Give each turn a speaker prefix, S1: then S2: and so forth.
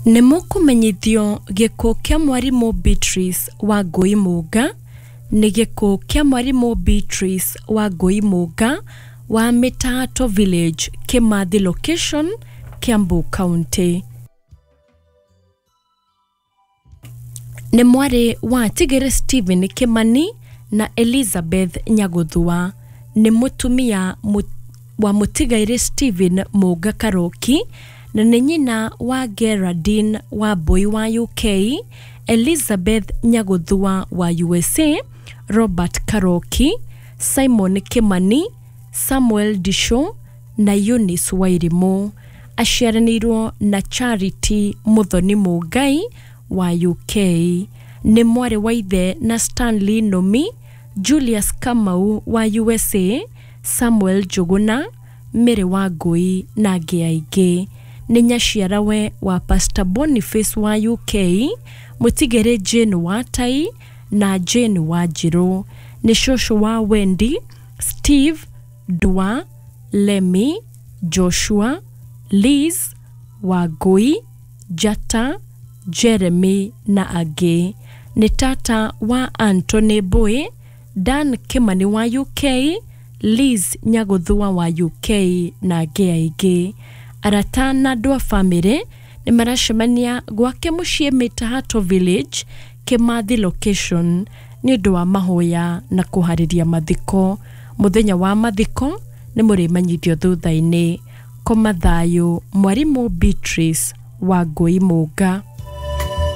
S1: Nĩ mũkũmenyithio gĩkuũ kĩa mwarimũ Beatrice Wangũi Mũnga nĩ gĩkuũ kĩa mwarimũ Beatrice Wangũi Mũnga wa Mĩtato Village, Kĩmathi Location, Kiambu County. Nĩ mwarĩ wa Tigere Stephen Kimani na Elizabeth Nyagũthua. Nĩ mũtumia wa mũtigairĩ Stephen Mũnga Karoki na nĩ nyina wa Geraldine Wambui wa UK, Elizabeth Nyagũthua wa USA, Robert Karoki, Simon Kimani, Samuel Ndicũ na Eunice Wairimũ. Aciaranĩirwo na Charity Mũthoni Mũngai wa UK. Nĩ mwarĩ wa ithe na Stanley Nũmi, Julius Kamau wa USA, Samuel Njũgũna, Mary Wangũi na angĩ aingĩ. Nĩ nyaciarawe wa Pastor Boniface wa UK, Mũtigĩrĩ Jane wa Tai na Jane Wanjirũ. Nĩ cũcũ wa Wendy, Steve, Ndua, Lemmy, Joshua, Liz, Wangũi, Njata, Jeremy na angĩ. Nĩ tata wa Anthony Mbũĩ, Dan Kĩmani wa UK, Liz Nyagũthua wa UK na angĩ aingĩ. Arata na andũ a bamĩrĩ nĩ maracemania gwake mũciĩ Mĩtahato Village, Kĩmathi Location nĩ ũndũ wa mahoya na kũharĩria mathiko. Mũthenya wa mathiko nĩ mũrĩmenyithio thutha-inĩ. Koma thayũ mwarimũ Beatrice Wangũi Mũnga.